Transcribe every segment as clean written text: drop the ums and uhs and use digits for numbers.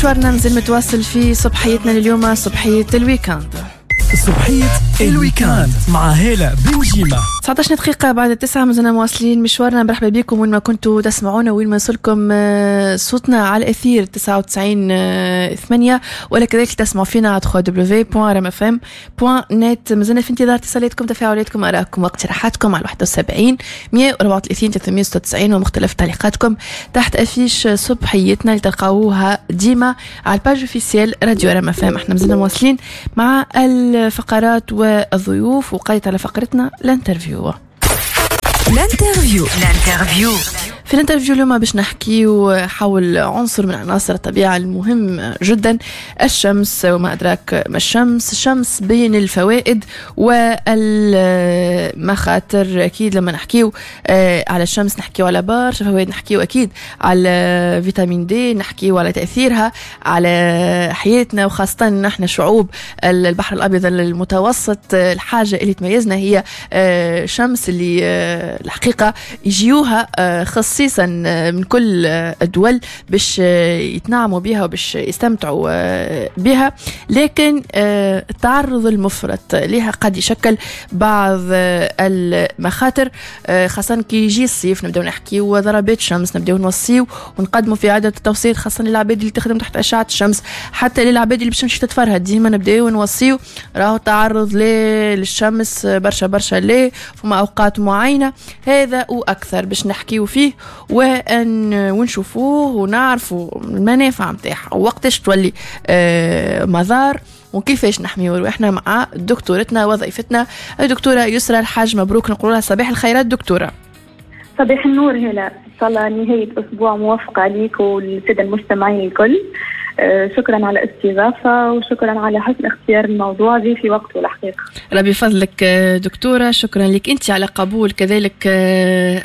مشوارنا مازال متواصل في صبحيتنا لليوم، صبحية ال week-end. صبحية ال week-end مع هالة بنجيمة. 19 دقيقة بعد 9 مازلنا مواصلين مشوارنا. مرحبا بكم وين ما كنتوا تسمعونا وين ما وصلكم صوتنا على الأثير 99.8، ولا كذلك تسمعوا فينا على www.rmfm.net. مازلنا في انتظار اتصالاتكم، تفاعلاتكم، آرائكم واقتراحاتكم على 71 134 396 ومختلف تعليقاتكم تحت affiche صبحيتنا اللي تلقاوها ديما على ال page officielle راديو RMFM. احنا مازلنا مواصلين مع الفقرات والضيوف، وقيت على فقرتنا l'interview. l'interview. l'interview. في l'interview اليوم باش نحكيو حول عنصر من عناصر الطبيعة المهم جدا، الشمس، وما أدراك ما الشمس. الشمس بين الفوائد والمخاطر. أكيد لما نحكيو على الشمس نحكيو على برشا فوائد، نحكيو أكيد على vitamine D، نحكيو على تأثيرها على حياتنا، وخاصة نحن شعوب البحر الأبيض المتوسط الحاجة اللي تميزنا هي الشمس اللي الحقيقة يجيوها خصيصا من كل الدول باش يتنعموا بها وباش يستمتعوا بها، لكن التعرض المفرط لها قد يشكل بعض المخاطر، خاصة كي يجي الصيف نبداو نحكيو ضربات شمس، نبداو نوصيو ونقدموا في عدة توصيات خاصة للعباد اللي تخدم تحت أشعة الشمس، حتى للعباد اللي باش تمشي تتفرهد ديما نبداو نوصيو راهو التعرض للشمس برشا برشا ليه فما أوقات معينة. هذا وأكثر باش نحكيو فيه ونشوفوه ونعرفوا المنافع نتاعها ووقتاش تولي مضار وكيفاش نحميو رواحنا مع دكتورتنا وضيفتنا الدكتورة يسرى الحاج مبروك. نقول لها صباح الخيرات دكتورة. صباح النور هلا، إن شاء الله نهاية أسبوع موفقة عليك والسادة المستمعين الكل. شكرا على الاستضافة وشكرا على حسن اختيار الموضوع جي في وقته الحقيقة. ربي يفضلك دكتورة، شكرا لك أنت على قبول كذلك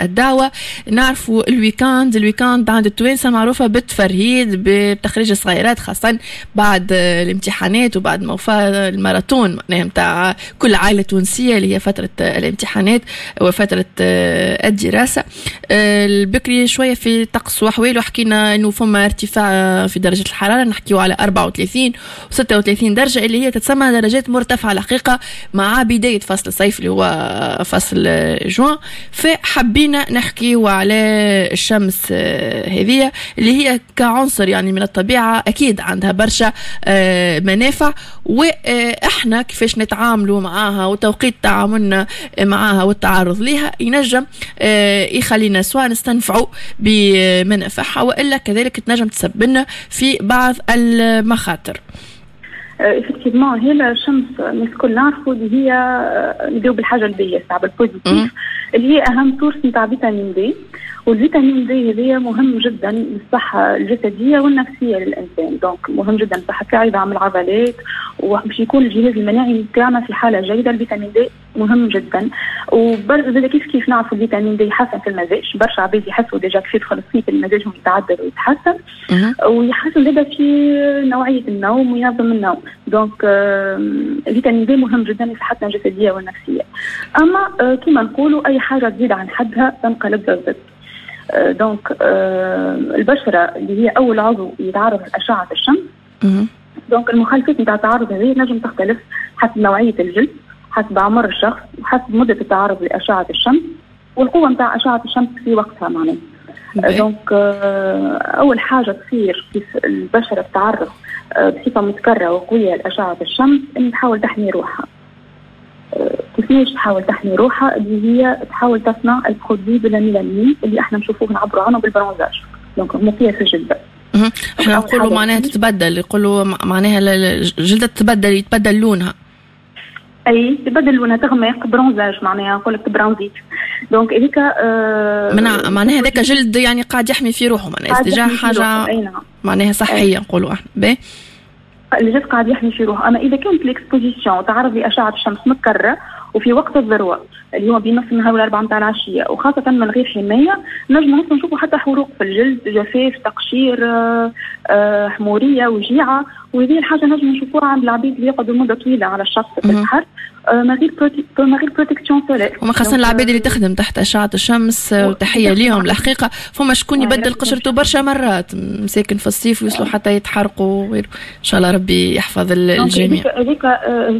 الدعوة. نعرفوا ال week-end، ال week-end عند التوانسة معروفة بالتفرهيد، بتخريج الصغيرات خاصة بعد الامتحانات وبعد ما وفى الماراثون معناها نتاع كل عائلة تونسية اللي هي فترة الامتحانات وفترة الدراسة. البكري شوية في طقس وأحواله حكينا أنه فما ارتفاع في درجة الحرارة، نحكيو على 34 و 36 درجة اللي هي تتسمى درجات مرتفعة الحقيقة مع بداية فصل الصيف اللي هو فصل جوان. فحبينا نحكيو على الشمس هذه اللي هي كعنصر يعني من الطبيعة أكيد عندها برشا منافع، وإحنا كيفاش نتعاملوا معاها وتوقيت تعاملنا معاها والتعرض لها ينجم يخلينا سواء نستنفعوا بمنافعها وإلا كذلك تنجم تسببنا في بعض المخاطر. effectivement هي الشمس الناس الكل نعرفوا اللي هي نبداو بالحاجة الباهيه ساعة بال positif اللي هي اهم source نتاع vitamine D، وال vitamine D هذايا مهم جدا للصحة الجسدية والنفسية للانسان، donc مهم جدا لصحة العظام العضلات وباش يكون الجهاز المناعي نتاعنا في حاله جيدة. ال vitamine D مهم جدا، وبرشا كيف كيف نعرفوا ال vitamine D يحسن في المزاج، برشا عباد يحسوا déjà كيف يدخل الصيف المزاجهم يتعدل ويتحسن، ويحسن زاده في نوعية النوم وينظم النوم. donc ال vitamine D مهم جدا لصحتنا الجسدية والنفسية. اما كما نقولوا اي حاجة تزيد عن حدها تنقلب للضد. donc البشرة اللي هي اول عضو يتعرض لاشعه الشمس، donc المخالفات نتاع التعرض هذه نجم تختلف حسب نوعية الجلد، حسب عمر الشخص، وحسب مده التعرض لاشعه الشمس والقوه نتاع اشعه الشمس في وقتها معناها. donc اول حاجة تصير كيف البشرة تتعرض بصفة متكررة وقويه لاشعه الشمس ان تحاول تحمي روحها. كيفاش تحاول تحمي روحها؟ اللي هي تحاول تصنع ال produit de la mélanine اللي احنا نشوفوه نعبروا عنه بال bronzage، donc مقياس الجلد. احنا نقولوا معناها تتبدل، يقولوا معناها الجلدة تتبدل، يتبدل لونها. اي تبدل لونها، تغمق، bronzage معناها نقول لك تبرونزيت. donc هذيك معناها هذاك جلد يعني قاعد يحمي في روحه، معناها déjà حاجة معناها صحية نقولوا احنا. باهي الجلد قاعد يحمي في روحه. اما اذا كانت l'exposition تعرض لاشعه الشمس متكررة وفي وقت الذروة اللي هو بين نص النهار والاربعة نتاع العشية وخاصة من غير حماية، نجم نشوفوا حتى حروق في الجلد، جفاف، تقشير، حموريه، وجيعه، وهذه الحاجة نجم نشوفوها عند العبيد اللي يقعدوا مده طويلة على الشط في البحر ما غير protection solaire. وما خاصة العباد اللي تخدم تحت أشعة الشمس، وتحية ليهم الحقيقة. فما شكون يبدل قشرته برشا مرات مساكن في الصيف، ويوصلوا حتى يتحرقوا وغيره. إن شاء الله ربي يحفظ الجميع. هذيك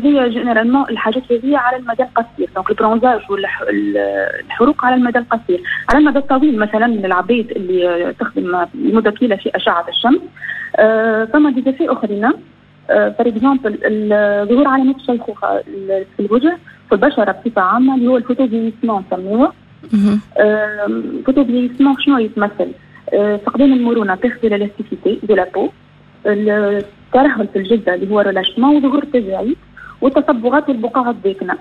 هي généralement الحاجات هذه على المدى القصير، donc ال bronzage والحروق على المدى القصير. على المدى الطويل، مثلا العباد اللي تخدم لمدة طويلة في أشعة الشمس، فما des effets اخرين، par exemple ظهور علامات الشيخوخة في الوجه، في البشرة بصفة عامه، اللي هو ال photovieillissement نسميوه. photovieillissement شنو يتمثل؟ فقدان المرونه، perte de l'élasticité de la peau، الترهل في الجلد اللي هو relâchement، وظهور التجاعيد والتصبغات والبقع الداكنه.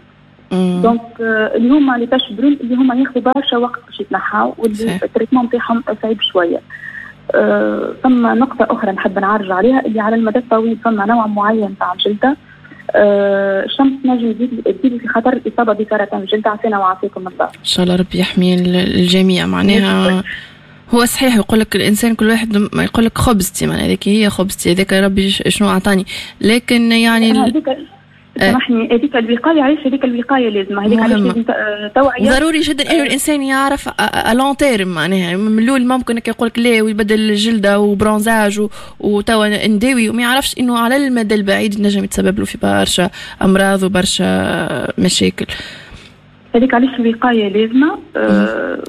donc اللي هما les taches brunes اللي هما ياخذوا برشا وقت باش يتنحاو، واللي ال traitement نتاعهم صعيب شويه. ثم نقطة أخرى نحب نعرج عليها، اللي على المدى الطويل ثم نوع معين تاع الجلدة الشمس تنجم تزيد في خطر الإصابة بسرطان الجلد، عافانا وعافاكم الله. إن شاء الله ربي يحمي الجميع. معناها هو صحيح يقول لك الانسان كل واحد ما يقول لك خبزتي، معناها هذيك هي خبزتي، هذاك ربي شنو اعطاني، لكن يعني سامحني، هذيك الوقايه، علاش هذيك الوقاية لازم، هذيك علاش لازم توعيه. ضروري جدا انه الانسان يعرف à long terme. معناها من الاول ممكن يقول لك لا ويبدل الجلدة و bronzage وتوا نداوي، وما يعرفش انه على المدى البعيد نجم يتسبب له في برشا امراض وبرشا مشاكل. هذيك علاش الوقاية لازمه.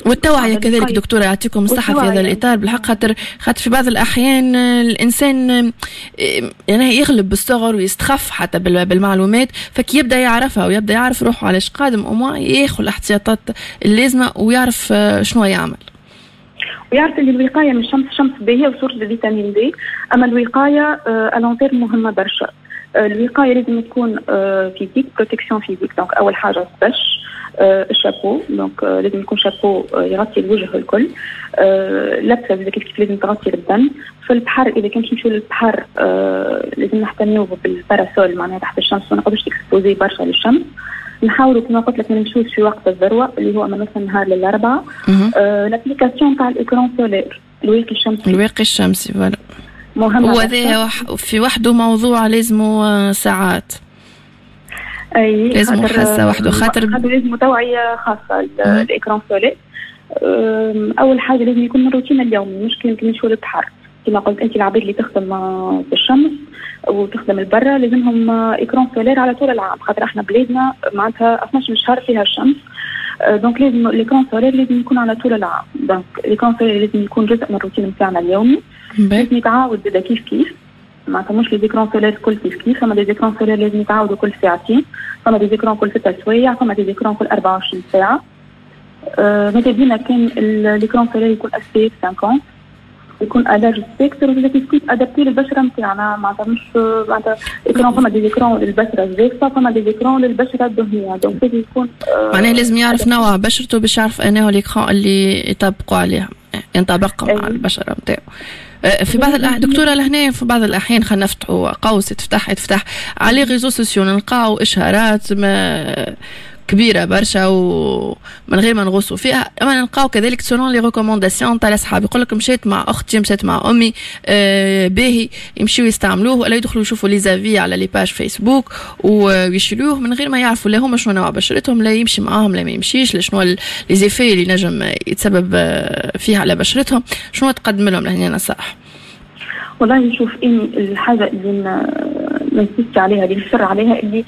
والتوعية كذلك دكتوره، يعطيكم الصحة في هذا الاطار بالحق، خاطر في بعض الاحيان الانسان يعني يغلب بالصغر ويستخف حتى بالمعلومات، فكي يبدا يعرفها ويبدا يعرف روحه علاش قادم، au moins ياخذ الاحتياطات اللازمة ويعرف شنو يعمل. ويعرف ان الوقاية من الشمس، الشمس باهيه و source de vitamine D، اما الوقاية à long terme مهمة برشا. الوقاية لازم تكون physique، protection physique، donc اول حاجة باش ال chapeau، donc لازم يكون شابو يغطي الوجه الكل، لبسه كيف كيف لازم تغطي البدن. في البحر، اذا كان نمشيو للبحر، لازم نحتميو بال parasol معناها تحت الشمس، ما نقعدوش exposés برشا للشمس. نحاولوا كما قلت لك ما نمشوش في وقت الذروة اللي هو من نص النهار للاربعه. l'application تاع ال écran solaire، الواقي الشمسي. الواقي الشمسي، voilà. مهم. هو هذا في وحده موضوع لازمه ساعات. اي. لازم حاسه وحده خاطر لازم توعيه خاصة ال écran solaire. اول حاجة لازم يكون من الروتين اليومي، مش كي نمشيو للبحر. كما قلت انت، العباد اللي تخدم في الشمس وتخدم البرة لازمهم écran solaire على طول العام، خاطر احنا بلادنا معناتها 12 شهر فيها الشمس، donc لازم l'écran solaire لازم يكون على طول العام. donc l'écran solaire لازم يكون جزء من الروتين نتاعنا اليومي، لازم يتعاود زاده كيف كيف. معناتها مش les écrans solaires كل كيف كيف، فما des écrans solaires لازم يتعاودوا كل ساعتين، فما des écrans كل 6 سوايع، فما des écrans كل 24 ساعة. ماذا بينا كان l'écran solaire يكون SPF 50، يكون à large spectre، ولا كيف كيف adapté للبشره نتاعنا. معناتها مش معناتها écran، فما des écrans للبشره الجافه، فما des écrans للبشره الدهنيه، donc لازم يكون معناها لازم يعرف نوع بشرته باش يعرف انه l'écran اللي يطبقوا عليها ينطبق مع البشرة نتاعو. في بعض دكتورة لهنا في بعض الاحيان، خلينا نفتحوا قوس، تفتح تفتح على les réseaux sociaux نلقاو اشهارات ما كبيرة برشا ومن غير ما نغوصوا فيها، اما نلقاو كذلك selon les recommandations تاع الاصحاب، يقول لك مشيت مع اختي، مشيت مع امي، باهي، يمشيو يستعملوه ولا يدخلوا يشوفوا les avis على les pages فيسبوك ويشريوه من غير ما يعرفوا لا هما شنو نوع بشرتهم، لا يمشي معاهم لا ما يمشيش، لا شنو les effets اللي نجم يتسبب فيها على بشرتهم. شنو تقدم لهم لهنا نصائح؟ والله نشوف اني الحاجة اللي ن insiste عليها، اللي نصر عليها، اللي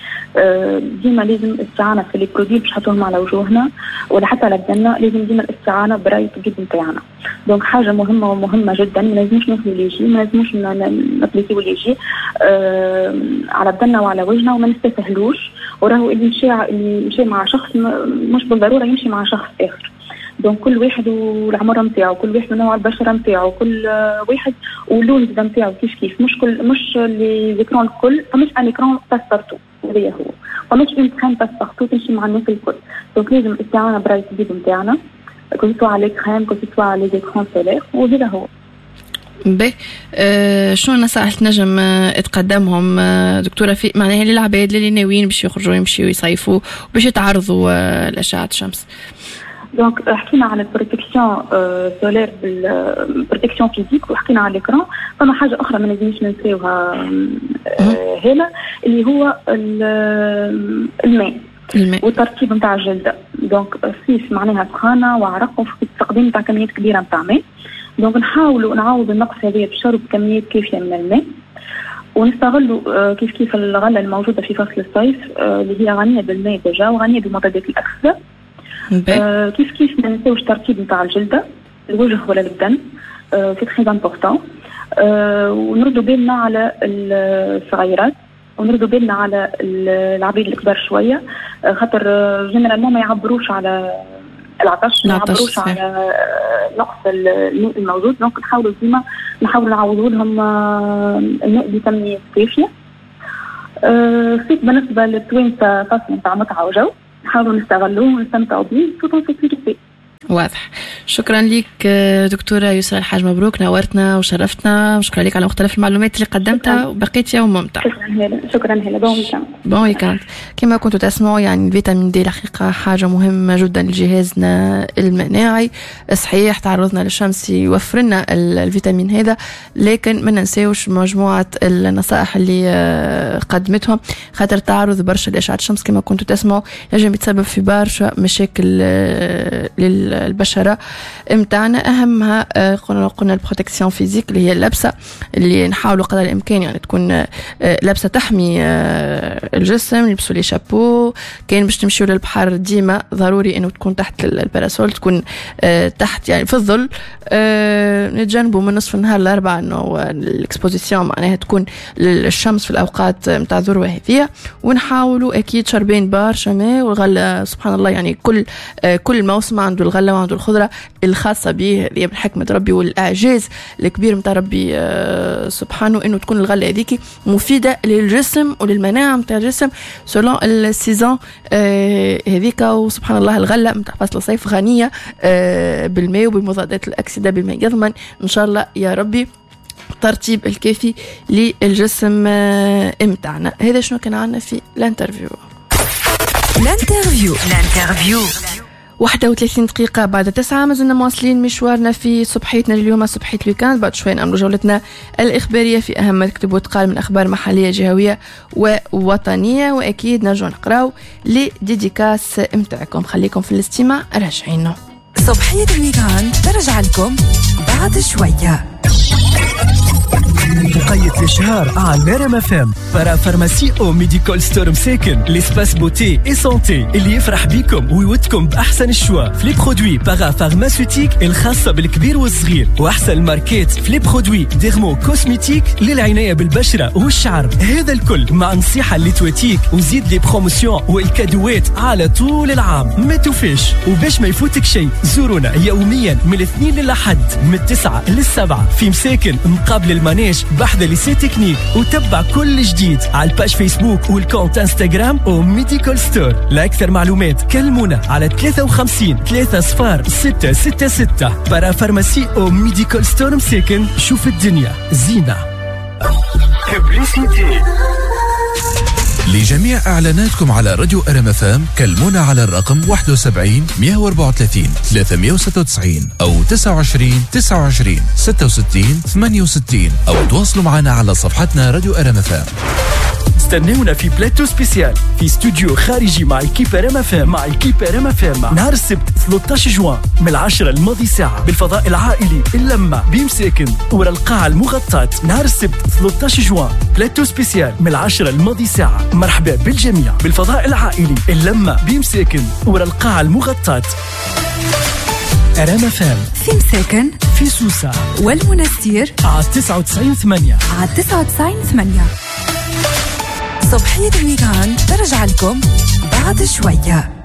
ديما لازم الاستعانة في les produits باش نحطوهم على وجوهنا ولا حتى على بدنا، لازم ديما الاستعانة براي الطبيب نتاعنا. donc حاجة مهمة ومهمة جدا، ما لازمش ناخذ اللي يجي، ما لازموش ن appliquer اللي يجي على بدنا وعلى وجهنا، وما نستسهلوش. وراهو اللي مشى مع شخص مش بالضرورة يمشي مع شخص اخر. donc كل واحد والعمر نتاعو، كل واحد ونوع البشرة نتاعو، كل واحد واللون نتاعو كيف كيف. مش كل مش les écrans الكل، فمش un écran passe-partout، هذا هو، فمش une crème passe-partout تمشي مع الناس الكل. donc لازم الاستعانة براي الطبيب نتاعنا، que ce soit les crèmes، que ce soit les écrans solaires، وهذا هو. باهي، شنو النصائح تنجم تقدمهم دكتورة في معناها للعباد اللي ناويين باش يخرجوا يمشيوا يصيفوا باش يتعرضوا لاشعه الشمس؟ donc حكينا على ال protection solaire بال protection physique وحكينا على l'écran. فما حاجة اخرى ما لازمش ننساوها هنا اللي هو الماء والترطيب نتاع الجلدة. donc الصيف معناها سخانه وعرق وتقديم نتاع كميات كبيرة نتاع ماء، donc نحاولوا نعوض النقص هذا بشرب كميات كافيه من الماء، ونستغلوا كيف كيف الغلة الموجودة في فصل الصيف اللي هي غنية بالماء déjà وغنيه بمضادات الاكسدة. كيف كيف ما ننساوش الترطيب نتاع الجلدة، الوجه ولا البدن، c'est très important. ونردوا بالنا على الصغيرات ونردوا بالنا على العبيد الكبار شوية، خاطر généralement ما يعبروش على العطش، ما يعبروش على نقص الماء الموجود. donc نحاولوا ديما نحاولوا نعوضوا لهم الماء بكميات كافيه. الصيف بالنسبة للتوانسه فصل نتاع متعه وجو، نحاولوا نستغلوه ونستمتعوا به tout en sécurité. واضح. شكرا لك دكتورة يسرى الحاج مبروك، نورتنا وشرفتنا، وشكرا لك على مختلف المعلومات اللي قدمتها، وبقيت يوم ممتع. شكرا هلا، شكرا هلا، bon week-end. bon week-end. كما كنتوا تسمعوا يعني ال vitamine D الحقيقة حاجة مهمة جدا لجهازنا المناعي. صحيح تعرضنا للشمس يوفر لنا الفيتامين هذا، لكن ما ننساوش مجموعة النصائح اللي قدمتهم، خاطر تعرض برشا لأشعة الشمس كما كنتوا تسمعوا ينجم يتسبب في برشا مشاكل للبشرة متاعنا. أهمها قلنا ال protection physique اللي هي اللبسة اللي نحاولوا قدر الإمكان يعني تكون لبسة تحمي الجسم، نلبسوا les chapeaux. كان باش تمشيو للبحر ديما ضروري انه تكون تحت ال parasol، تكون تحت يعني في الظل. نتجنبوا من نصف النهار الأربعة انه ال exposition معناها تكون للشمس في الأوقات متاع الذروة هذه، ونحاولوا أكيد شربين برشا ماء والغلة. سبحان الله يعني كل موسم عنده الغلة وعنده الخضرة الخاصة به، هذه من حكمة ربي والإعجاز الكبير متاع ربي سبحانه، إنه تكون الغلة هذيك مفيدة للجسم وللمناعة متاع الجسم selon ال saison هذيك. وسبحان الله الغلة متاع فصل الصيف غنية بالماء وبمضادات الأكسدة، بما يضمن إن شاء الله يا ربي الترطيب الكافي للجسم متاعنا. هذا شنو كان عندنا في l'interview. l'interview l'interview 8:31، ما زلنا مواصلين مشوارنا في صبحيتنا اليوم، صبحية ال week-end. بعد شوي نعملوا جولتنا الإخبارية في أهم ما تكتب وتقال من أخبار محلية جهوية ووطنية، وأكيد نرجع نقراو les dédicaces متاعكم. خليكم في الاستماع، راجعين. صبحية ال week-end ترجع لكم بعد شوية. وقيت الإشهار على RM FM. Parapharmacie او Medical Store مساكن، l'espace beauté et santé اللي يفرح بيكم ويودكم باحسن ال choix في les produits parapharmaceutiques الخاصة بالكبير والصغير، واحسن الماركات في les produits dermo-cosmétiques للعنايه بالبشره والشعر. هذا الكل مع نصيحة اللي تواتيك، وزيد les promotions والكادوات على طول العام. ما توفيش، وباش ما يفوتك شيء زورونا يوميا من الاثنين للأحد من 9 لل7 في مساكن مقابل ال manège بحذا lycée technique، وتبع كل جديد على ال page Facebook وال compte Instagram او Medical Store. لاكثر معلومات كلمونا على 53 3 0 6 6 6. Parapharmacie او Medical Store مساكن، شوف الدنيا زينة. لجميع إعلاناتكم على راديو RM FM كلمونا على الرقم 71 134 396 أو 29 29 66 68، أو تواصلوا معنا على صفحتنا راديو RM FM. استنونا في plateau spécial في استوديو خارجي مع équipe RM FM، مع équipe RM FM نهار السبت 13 جوان من 10 الماضي ساعة بالفضاء العائلي اللمة بمساكن ورا القاعة المغطاة. نهار السبت 13 جوان plateau spécial من 10 الماضي ساعة. مرحبا بالجميع بالفضاء العائلي اللمة بمساكن ورا القاعة المغطاة. RM FM في مساكن، في سوسة والمنستير على 99.8، على 99.8. صبحية ال week-end ترجع لكم بعد شوية.